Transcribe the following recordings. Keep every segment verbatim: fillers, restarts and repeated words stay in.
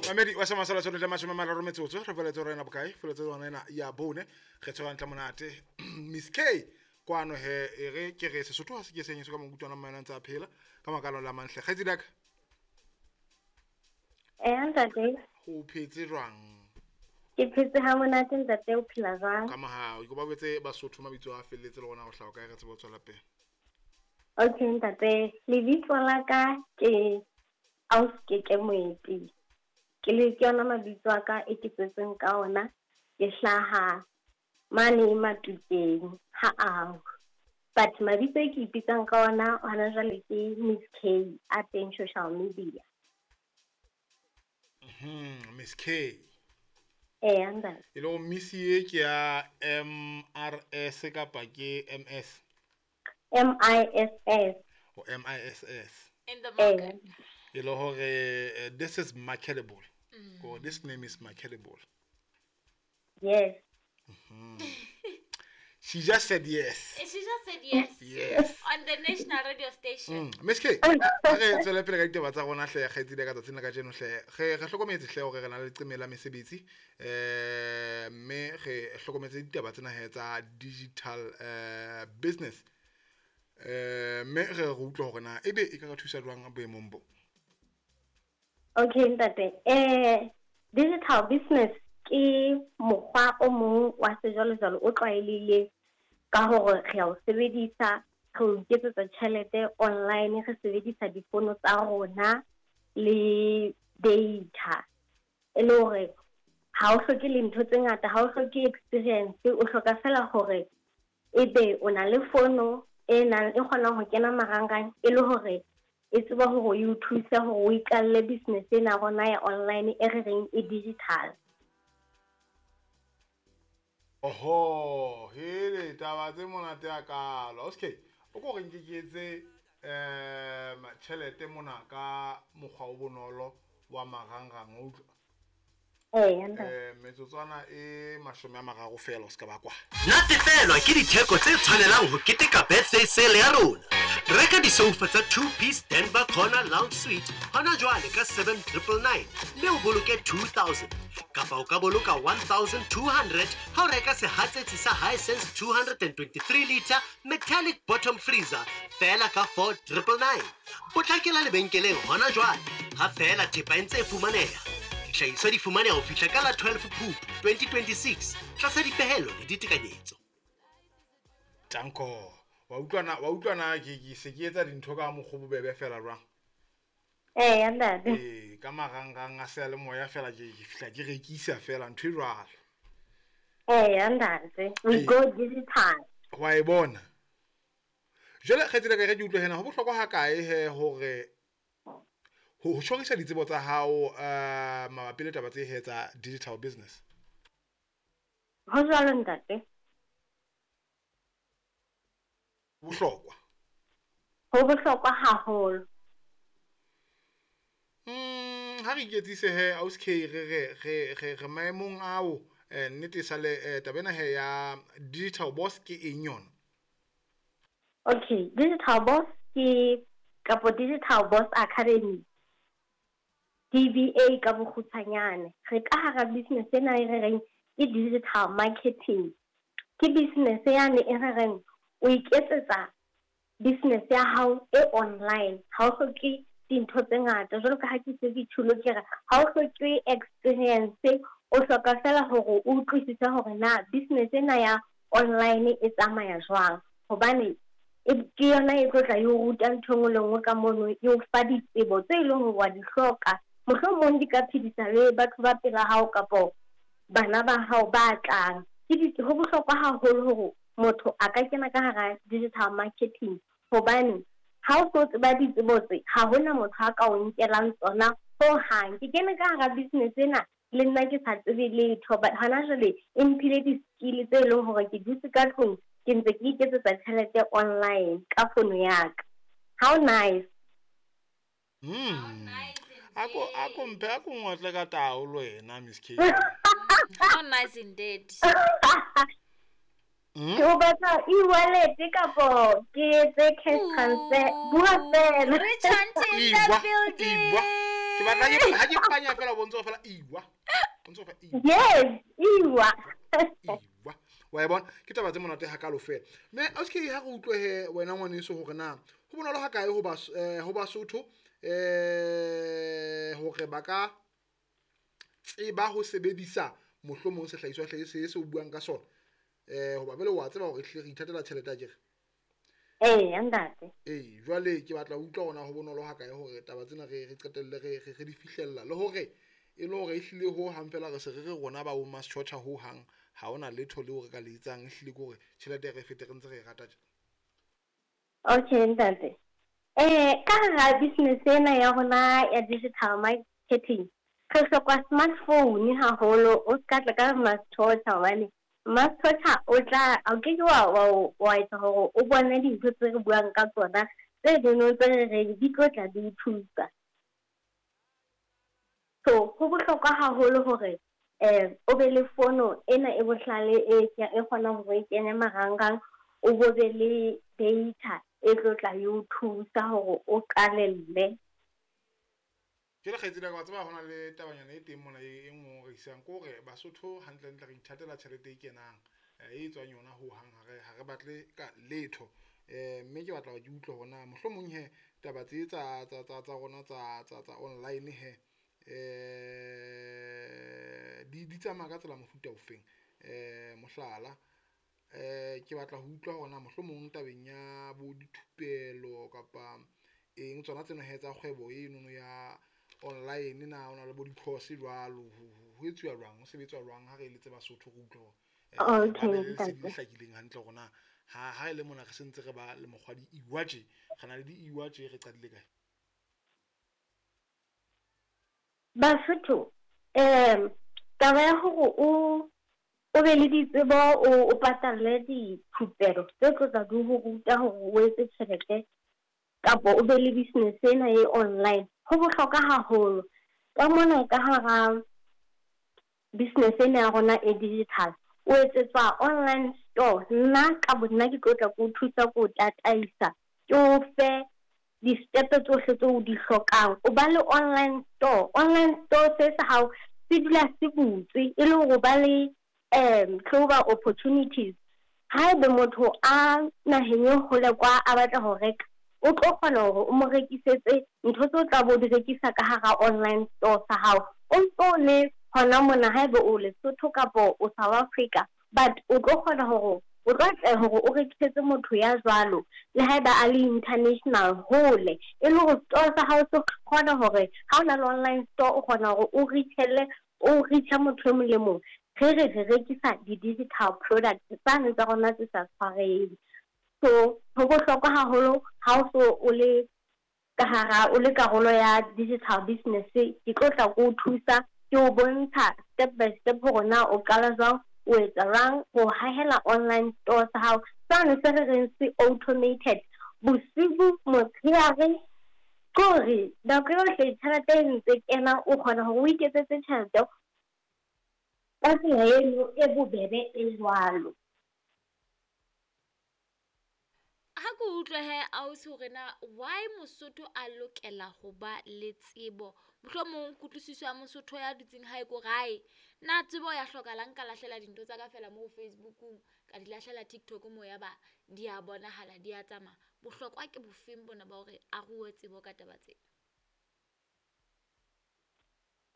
Mamedi wa sama sala tsone mashome a mararo metsotso re feletse rena bokae feletse rona ena ya bone re tshwara ntle monate Miss K kwano he e re ke re Sesotho ha se ke senyetso ka mokutwana mmaena ntse a phela ka makalo la manhle kgaitsedi ya ka. Eh ntate, ho phetse jwang? Ke phetse ha monate ntate, o phela jwang? Ka mahao ke ba botse Basotho mabitso a felletse le rona ho hlaha kae re tsebe ho tswela pele. Okay ntate, lebitso la ka ke Auskeke Moeti. Ke le ke yona mabitso a ka e ke tswetseng ka ona. Ke hlaha mane Matukeng ha ao. But mabitso e ke ipitsang ka ona hona jwale ke Miss K a teng social media. Mhm, Miss K. Eh ntate. E le Miss e ke ya M R S kapa ke M S? M I S S. O M I S S. In the market. E le hore this is marketable. Mm. Or this name is marketable. Yes. Mm-hmm. She just said yes. She just said yes. Yes. On the national radio station. Mm. Miss K, re tswele pele ka ditaba tsa rona hle kgaitsedi ka tsatsing la kajeno hle. Re re hlokometse hle hore re na le leqeme la mesebetsi eh mme re hlokometse ditaba tsena he tsa digital eh business. Eh mme re re utlwa hore na ebe e ka re thusa jwang boemong bo. Okay ntate, eh digital business ke mokgwa o mong wa sejwalejwale o tlwaelehileng ka hore re a o sebedisa, re o iketsetsa tjhelete online, re sebedisa difono tsa rona le data. E le hore ha o hloke le ntho tse ngata, ha o hloke experience, o hloka fela hore ebe o na le fono e nang e kgonang ho kena marangrang e le hore e tseba hore e o thuse hore o iqalle business ena rona ya online e re reng e digital. Oho, hele taba tse monate ya kalo. Okay, o ko re nke ke etse um tjhelete mona ka mokgwa o bonolo wa marangrang o utlwa. Eh, ntate. Eh metsotswana e mashome a mararo fela o ska ba kwa. Natefelwa ke ditheko tse tshwanelang ho keteka birthday sale ya rona. Reka disoufa tsa two piece Denver Corner Lounge Suite hona jwale ka seven triple nine mme o boloke two thousand. Kapa o ka boloka one thousand two hundred ha o reka sehatsetsi sa Hisense two hundred twenty-three liter metallic bottom freezer fela ka four triple nine. Potlakela lebenkeleng hona jwale ha fela thepa e ntse e fumaneha. Dihlahiswa di fumaneha ho fihla ka la twelve Phupu twenty twenty-six tlasa dipehelo le ditekanyetso. Tanko, wa utlwana wa utlwana ke ke se ke etsa dintho ka mokgwa bobebe fela jwang? Eh ntate. Eh ka marangrang a seyalemoya fela ke ke fihla ke rekisa fela ntho e jwalo. Eh ntate, we go digital. Wa e bona. Jwale kgaitsedi ka re ke utlwe hena ho bohlokwa ha kae he hore ho tjhorisa ditsebo tsa hao eh mabapi le taba tse he tsa digital business? Ho jwalo ntate. Bohlokwa. Ho bohlokwa haholo. Mm, ha re iketsise he Ausi K re re re re re maemong ao eh nnete sale taba ena he ya digital boss ke eng yona? Okay, digital boss ke kapo Digital Boss Academy. D B A ka bokgutshwanyane. Re ka hara business ena e re reng ke digital marketing. Ke business yane e re reng o iketsetsa business ya hao e online. Ha o hloke dintho tse ngata jwalo ka ha ke se ke tjhulo ke re ha o hloke experience, o hloka fela hore o utlwisise hore na business ena ya online e tsamaya jwang, hobane e ke yona e tlo tla e o ruta ntho e nngwe le nngwe ka mono, e o fa ditsebo tse leng hore wa di hloka. Mohlomong di ka phedisa le batho ba pela hao kapo bana ba hao ba tlang. Ke di ho bohlokwa haholo hore motho a ka kena ka hara digital marketing, hobane ha o so tseba ditsebo tse ha hona motho a ka o nkelang tsona hohang. Ke kene ka hara business ena le nna ke sa tsebe letho, but hona jwale e mphile di-skill tse leng hore ke dutse ka tlung ke ntse ke iketsetsa tjhelete online ka fono ya ka. How nice. Mm. Nice Ako ako mpe ako ngotle ka taolo wena Miss K. How nice indeed. Mm? Ke o batla e-wallet kapo ke etse cash transfer? Bua fela. Rich auntie in the Ibwa, building. ibwa. Ke batla ke ha ke panya fela o bontse fela iwa. O ntso fa iwa. Yes, iwa. Iwa. Wa e bona ke taba tse monate hakalo fela. Mme a se ha re utlwe he wena ngwaneso hore na ho bonolo ha kae ho ba ho Basotho eh hore ba ka tseba ho sebedisa mohlomong sehlahiswa hle se se o buang ka sona eh hoba bele wa tseba hore hle re ithatela tjhelete a kere. Eh ntate. Eh jwale ke batla ho utlwa hona ho bonolo ha kae hore taba tsena re re qetelle re re di fihlella le hore e le hore ehlile ho hang fela re se re re rona ba bo Maschotcha ho hang ha ona letho le hore ka le etsang ehlile ke hore tjhelete re fete re ntse re e rata tje. Okay ntate. Eh ka hara business ena ya rona ya digital marketing re hloka smartphone haholo, o ska tla ka Maschotcha hobane Maschotcha o tla o ke ke wa wa etsa hore o bone dintho tse re buang ka tsona tse dino tse re reng di tlo tla di o thusa. So ho bohlokwa haholo hore eh o be le fono ena e bohlale e e kgonang hore e kene marangrang, o bo be le data e tlo tla e o thusa hore o qalelle. Jwale kgaitsedi ya ka, wa tseba hona le tabanyana e teng mona e ngongorehisang ke hore Basotho hantlentle re ithatela tjhelete e kenang e tswang yona ho hang, ha re ha re batle ka letho. Eh mme ke batla hore ke utlwe hore na mohlomong he taba tse tsa tsa tsa tsa rona tsa tsa tsa online he eh di di tsamaya ka tsela mofuta ofeng. Eh mohlala eh ke batla ho utlwa hore na mohlomong tabeng ya bo dithupelo kapa eng tsona tsena he tsa kgwebo enono ya online na ona le bo di-course jwalo ho etsuwa jwang, ho sebetswa jwang ha re eletse Basotho re utlwe hore Okay, ba be le lesedi le ntate. hlakileng hantle hore na ha ha e le mona re sentse re ba le mokgwa di-iwa tje, re na le di-iwa tje re qadile kae. Basotho um taba ya hore o o be le ditsebo o o patalle dithupelo tse tlo tla di ho ruta hore o etse tjhelete kapa o be le business ena e online ho bohlokwa haholo. Ka mona ka hara business ena ya rona e digital o etsetswa online store. Nna ka bo nna ke tlo tla ke o thusa, ke o tataisa, ke o fe di-step tsohle tseo o di hlokang. O ba le online store, online store se sa hao se dula se butswe e le hore o ba le um global opportunities. Haebe motho a naheng e hole kwa a batla ho reka, o tlo kgona hore o mo rekisetse ntho tseo tla bo di rekisa ka hara online store sa hao. O ntso le hona mona haebe o Lesotho kapo o South Africa, but o tlo kgona hore o tlo atleha hore o rekisetse motho ya jwalo le haeba a le international hole, e le hore store sa hao se kgona hore ha o na le online store o kgona hore o reach-ele o reach-a motho e mong le mong. Re re re rekisa di-digital products tsane tsa rona tse sa tshwareheng. So ho bohlokwa haholo ha o so o le ka hara o le karolo ya digital business, ke tlo tla ke o thusa, ke o bontsha step by step hore na o qala jwang, o etsa jwang ho hahela online store sa hao sane se re reng se automated bosibu motshehare, ke hore nako yohle tjhelete e ntse kena o kgona hore o iketsetse tjhelete ka tsela eno e bobebe e jwalo. Ha ke utlwe he ausi hore na why Mosotho a lokela ho ba le tsebo, mohlomong kutlwisiso ya Mosotho ya dutseng hae ko gae na tsebo ya hlokahala nka lahlela dintho tsa ka fela mo Facebookung ka di lahlela TikTok mo ya ba di a bonahala di a tsamaya. Bohlokwa ke bofeng bona ba hore a rue tsebo ka taba tsena?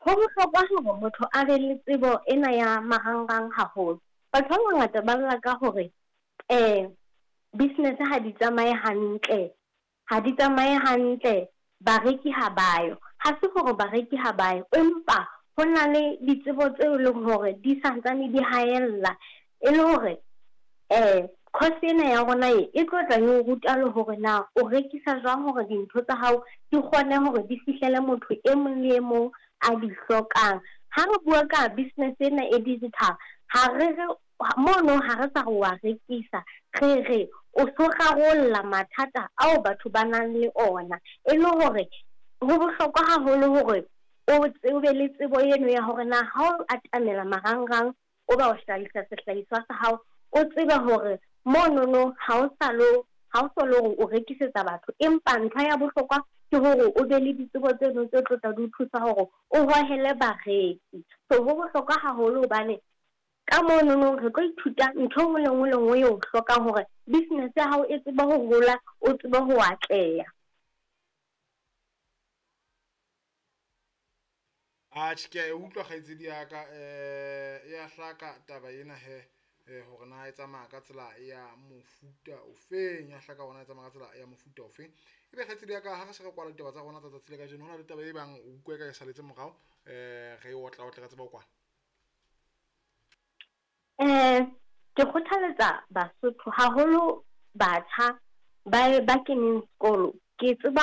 Ho bohlokwa hore motho a be le tsebo ena ya marangrang haholo. Batho ba bangata ba lla ka hore eh business ha di tsamaye hantle, ha di tsamaye hantle, bareki ha bayo. Ha se hore bareki ha bayo, empa ho na le ditsebo tseo e leng hore di santsane di haella, e le hore eh course ena ya rona e e tlo tla e o ruta le hore na o rekisa jwang hore dintho tsa hao di kgone hore di fihlele motho e mong le e mong a di hlokang. Ha re bua ka business ena e digital, ha re re mono ha re sa re wa rekisa, re re o so rarolla mathata ao batho ba nang le ona, e le hore ho bohlokwa haholo hore o tsebe le tsebo eno ya hore na ha o atamela marangrang o ba o hlahisa sehlahiswa sa hao, o tsebe hore monono ha o sa lo ha o so le hore o rekisetsa batho, empa ntho ya bohlokwa Ke hore o be le ditsebo tseno tse tlo tla di o thusa hore o hohele bareki. So ho bohlokwa haholo hobane ka monono re tlo ithuta ntho e nngwe le nngwe le nngwe eo o hlokang hore business ya hao e tsebe ho hola, o tsebe ho atleha. Atjhe, ke a e utlwa kgaitsedi ya ka, eh ya hlaka taba ena he, eh hore na e tsamaya ka tsela ya mofuta ofeng, ya hlaka hore na e tsamaya ka tsela ya mofuta ofeng. Ebe kgaitsedi ya ka ha re se re kwala ditaba tsa rona tsa tsatsi la kajeno, hona le taba e bang o utlwa e ka e saletse morao, eh re e otla otle re tsebe ho kwala. Eh ke kgothaletsa Basotho haholo, batjha ba ba keneng sekolo. Ke tseba